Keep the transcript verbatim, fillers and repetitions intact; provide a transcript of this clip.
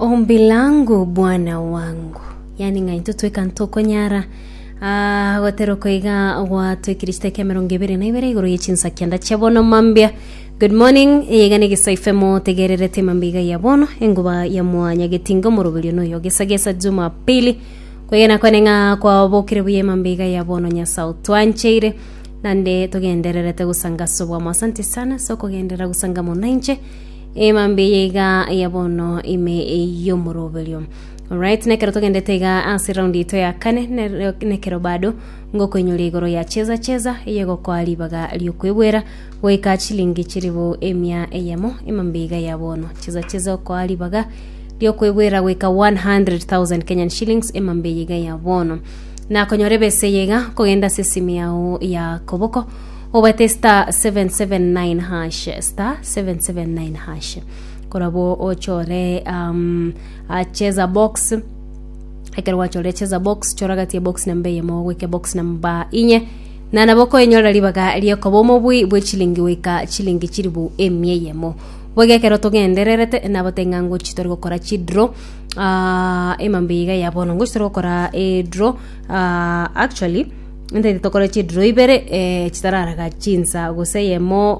Ombi langu bwana wangu, yani ng'a intwe tweka ntokonyara. Ah, gotera koiga gwatwekire chiteka emerongo ebere na ibere igoro ye chinsa kianda chia bono mambia. Good morning, eyega ne Gesa F M tegererete mambia iga ya bono, enguba ya mwanyagetinga omoroberio noyo gesagesa Jumapili. Kwegena kwene ng'a kwabokire buya mambia iga ya bono. Nyasae twancheire nande togendererete gusanga sobwamo. Asante sana so kogenderera gusanga mono inche emambia iga ya bono ime y'omoroberio. Alright, nekero togendete iga ase round ito ya kane, nere- nekero bado ngokoinyora igoro ya Cheza Cheza eyegokoa ribaga riokwebwera goika chilingi chiribu emia eyemo emambia iga ya bono. Cheza Cheza okoa ribaga riokwebwera goika one hundred thousand Kenyan shillings emambia iga ya bono. Nakonyora ebese yega kogenda ase esimu yao ya koboko, obate star seven seven nine hash, star seven seven nine hash, korabo ochore um, uh, cheza box. Ekero gwachorire cheza box, chora gati ya box namba eyemo goika box namba inye, na nabo koenyorera ribaga riokoba omobui bwe chilingi goika chilingi chiribu emia eyemo. Boiga ekero togendererete nabo ng'a ngochi tori gokora chidraw uh, emambia iga ya bono, ngochi tori gokora edraw. uh, actually ntaite tokore chidraw ibere, eh, chitararaga chinsa gose eyemo.